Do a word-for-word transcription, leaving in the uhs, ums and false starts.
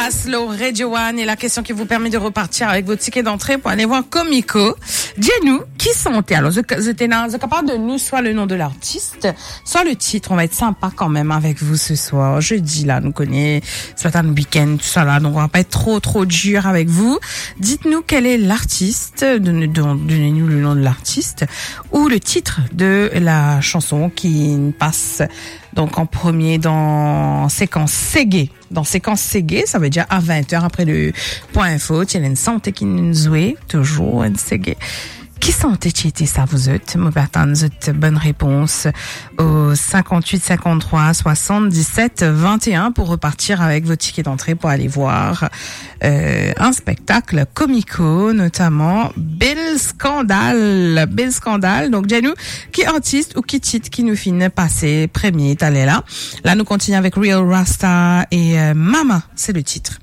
Slow Radio One et la question qui vous permet de repartir avec vos tickets d'entrée pour aller voir Comico. Dir nou, ki sante? Alors, zot, zot ena, zot kapav donn nou soit le nom de l'artiste, soit le titre. On va être sympa quand même avec vous ce soir. Jeudi, là, nou kone, c'est pas un week-end, tout ça là, donc on va pas être trop, trop dur avec vous. Dites-nous quel est l'artiste, donne, donne, donnez-nous le nom de l'artiste ou le titre de la chanson qui passe donc en premier dans séquence Seggae. Dans séquence Seggae, ça veut dire à vingt heures après le point info, ti ena enn sante ki'nn zwe, toujours enn Seggae. Ki sante ti ete sa, vous êtes? Mo pe atann zot bonne réponse au cinquante-huit cinquante-trois soixante-dix-sept vingt et un pour repartir avec vos tickets d'entrée pour aller voir, euh, un spectacle Comico, notamment Bel Skandal. Bel Skandal. Donc, dir nou, ki artis ou ki tit ki nou finn pase premie taler la? La, nou kontigne avec Real Rasta et, euh, Mama, c'est le titre.